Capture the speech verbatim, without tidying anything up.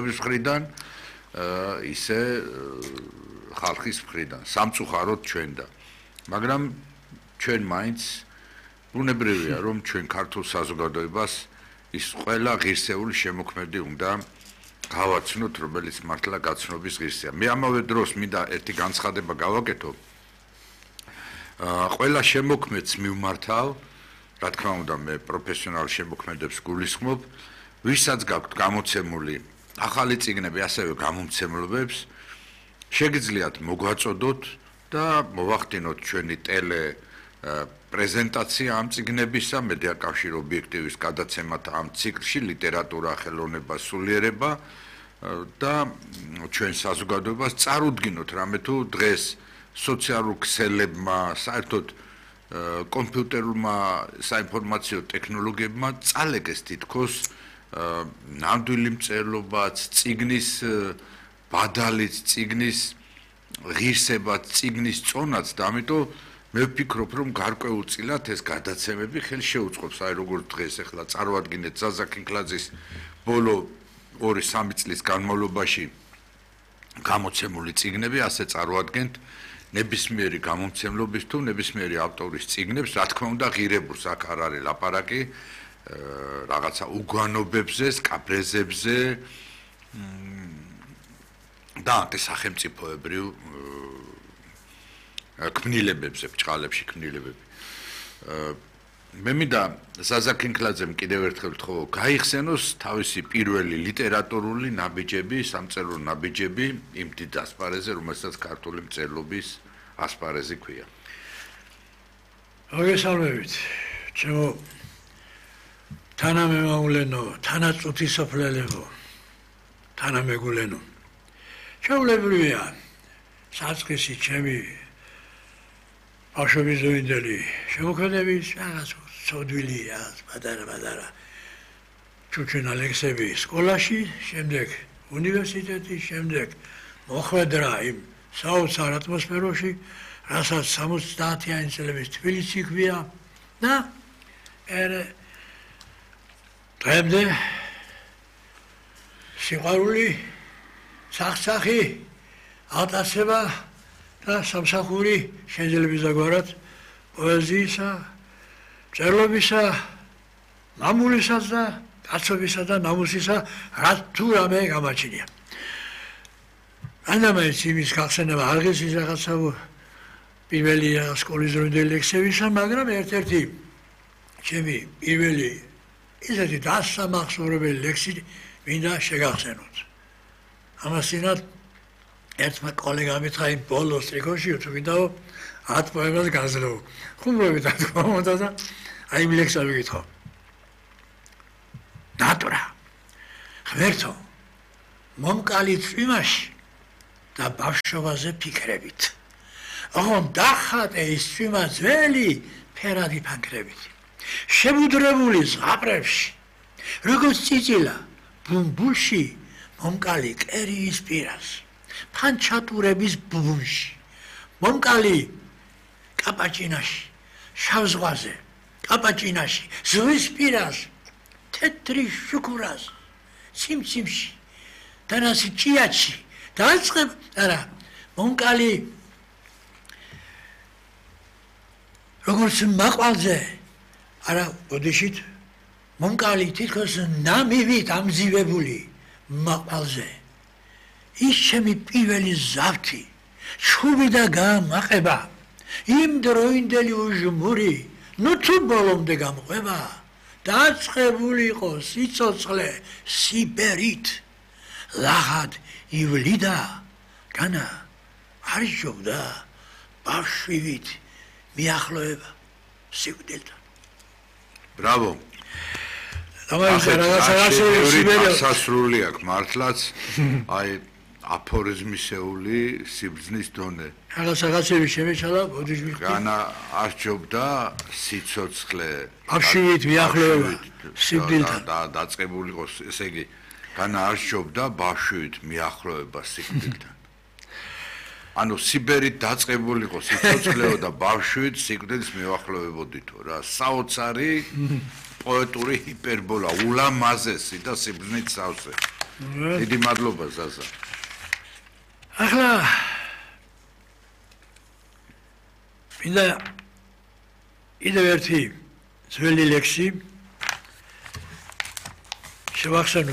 მთავრობის მხრიდან, ისე ხალხის მხრიდან, სამწუხაროდ ჩვენ და. მაგრამ ჩვენ მაინც ბუნებრივია, რომ ჩვენ ქართულ საზოგადოებას ის ყველა ღირსეული შემოქმედი უნდა გავაცნოთ, რომელიც მართლა გაცნობის ღირსია. მე ამავე დროს მინდა ერთი განცხადება გავაკეთო. ყველა შემოქმედს მივმართავ, რა თქმა უნდა, მე პროფესიონალ შემოქმედებს გულისხმობ, ვისაც გაქვთ გამოცემული ახალი წიგნები, ასევე გამომცემლობებს, შეგიძლიათ მოგვაწოდოთ და მოვახდინოთ ჩვენი ტელე პრეზენტაცია ამ წიგნებისა, მედია კავშირ ობიექტივის გადაცემათა ამ ციკლში, ლიტერატურა, ხელოვნება, სულიერება და ჩვენ საზოგადოებას წარუდგინოთ რამე თუ დღეს სოციალურ ქსელებმა, საერთოდ კომპიუტერულმა საინფორმაციო ტექნოლოგიებმა წალეგეს თითქოს ნამდვილი მწერლობაც, წიგნის ბადალიც, წიგნის ღირსებაც, წიგნის წონაც და ამიტომ მე ვფიქრობ, რომ გარკვეულწილად ეს გადაცემები ხელს შეუწყობს, აი როგორც დღეს ახლა წარმოადგინეთ ზაზა ქინქლაძის ბოლო ორი სამი წლის განმავლობაში გამოცემული წიგნები, ასე წარმოადგენთ ნებისმიერი გამომცემლობის თუ ნებისმიერი ავტორის წიგნებს, რა თქმა უნდა, ღირებულს აქ არ არის ლაპარაკი, რაღაცა უგვანობებზე, სკაბრეზებზე და სახელმწიფოებრივ ქმნილებებზე, ბჭყალებში ქმნილებები. მე მინდა ზაზა ქინქლაძემ კიდევ ერთხელ ვთხოვო, გაიხსენოს თავისი პირველი ლიტერატურული ნაბიჯები, სამწერლო ნაბიჯები იმ დიდ ასპარეზზე, რომელსაც ქართული მწერლობის ასპარეზი ქვია. მოგესალმებით, ჩემო თანამემამულენო, თანაწუთისოფლელებო, თანამეგულენო. ჩვეულებრივია საწყისი ჩემი ბავშვობის ზუინდელი შემოქმედების რაღაც ცოდვილი რაღაც პატარა-პატარა ჩუჩუნა ლექსები სკოლაში, შემდეგ უნივერსიტეტში, შემდეგ მოხვედრა იმ საოცარ ატმოსფეროში, რასაც სამოცდაათიანი წლების თბილისი ქვია და ერე დღემდე სიყვარული, სახსახი, ატაცება და სამსახური შენძლებისაგვარად პოეზიისა, მწერლობისა, მამულისას და კაცობისა და ნამუსისა რა თუ რამე გამაჩნია. რანამეც იმის გახსენება არ ღირსის რაღაცა პირველი სკოლის დროინდელი ლექსებისა, მაგრამ ერთ-ერთი ჩემი პირველი ისეთი დასამახსოვრებელი ლექსი მინდა შეგახსენოთ. ამასინად ერთმა კოლეგამ მითხრა იმ ბოლოს ტრიკოში თუ გინდაო ათ პოემას გაძლევ. ხუმრობით ათქომოდა და აი იმ ლექსს ვიკითხო. ნატურა. ღმერთო, მომკალი წვიმაში და ბავშვობაზე ფიქრებით. ოღონდ დახატე ის წვიმა ძველი ფერადი ფანქრებით. შებუდრებული ზღაპრებში, როგორც წიწილა, ბუმბულში მომკალი კერიის პირას. ფანჩატურების ბუბუნში, მომკალი კაპაჭინაში, შავ ზღვაზე, კაპაჭინაში, ზღვის პირას, თეთრი შუქურას, ციმციმში, დანასი ჭიაჩი, დაწყებ, არა, მომკალი როგორც მაყვალზე, არა, ოდიშით, მომკალი თითქოს ნამივით ამძივებული მაყვალზე. ის ჩემი პირველი ზავთი, ჩხუბი და გამაყება, იმ დროინდელი უჟმური, ნუ თუ ბოლომდე გამყვება, დაწყებული იყო სიცოცხლე სიბერით, ლაღად ივლიდა, განა არ იშობდა ბავშვივით მიახლოება სიკვდილთან. ბრავო. სასრული აქვს მართლაც, აი აფორიზმისეული სიბრძნის დონე. რაღაცები შემეჩალა, ბოდიში მიხდი. განა არჩობდა სიცოცხლე ბავშვივით მიახლოება სიკვდილთან. და დაწყებული იყო, ესე იგი, განა არჩობდა ბავშვივით მიახლოება სიკვდილთან. ანუ სიბერით დაწყებული იყო სიცოცხლეო და ბავშვით სიკვდილს მიახლოვებოდითო რა. საოცარი პოეტური ჰიპერბოლა, ულამაზესი და სიბრძნით სავსე. დიდი მადლობა ზაზა. ახლა მინდა კიდევ ერთი ძველი ლექსი შევახსენო